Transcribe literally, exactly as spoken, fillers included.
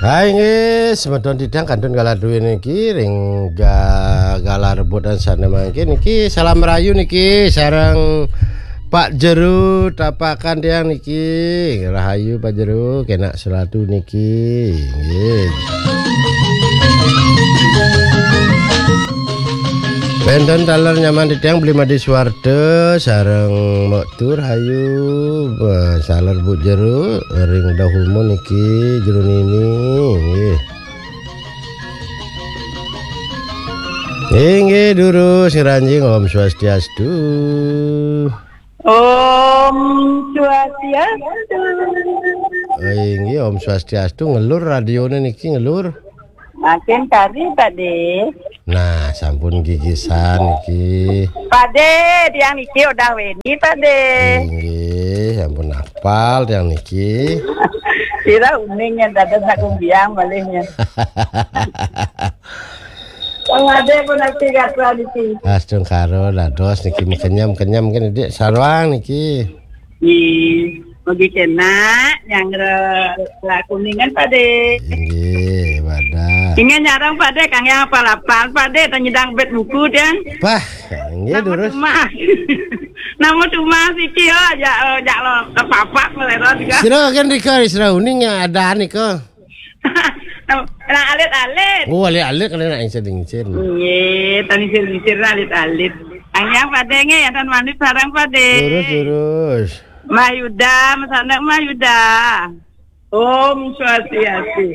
Hai nggih, semeton titiang kantun galah dué niki ring ga-, galah rebutan sané mangkin niki. Salam rahayu niki sareng Pak Jero tapakan tiang niki. Rahayu Pak Jero, kénak selatu niki. Nggih. Wénten taler nyaman titiang Beli Madi Suwarta sareng Mok Tur Hayu, eh, saler Bu Jero ring Dahumun niki Jero Nini nggih. Inggih durus ngranjing Om Swastiastu. Om Swastiastu. Inggih Om Swastiastu, ngelur radioné niki ngelur. Makin kari Pak De. Nah, sampun gigisan niki. Pak De, tiang niki udah weni Pak De. Inggih, sampun apal tiang niki. Sira uning yang dados nak kumbiang malihnya. Wong Pak De pun nanti gatra niki. Astungkara dados niki kenyam-kenyam kan Dik sarwang niki. Nggih. Mugi kenak nyanggra kuningan Pak De. Inggih, wadah. Inggih nyarang Pak De, kang yang apal-apal Pak De, tanyidang bet buku dan. Wah, inggih durus. Nama cuma siki ya, ya, ya lo kepapak melero juga. Sira kan rika, sira uning yang ada nika. Nah, alit-alit. Oh, alit-alit kalau nak insir-insir. Nggih, tani sir-sir alit-alit. Kang yang Pak De nggih, ya tan manut sarang Pak De. Durus, durus. Mbah Yuda, mesanak Mbah Yuda. Om Swastiastu.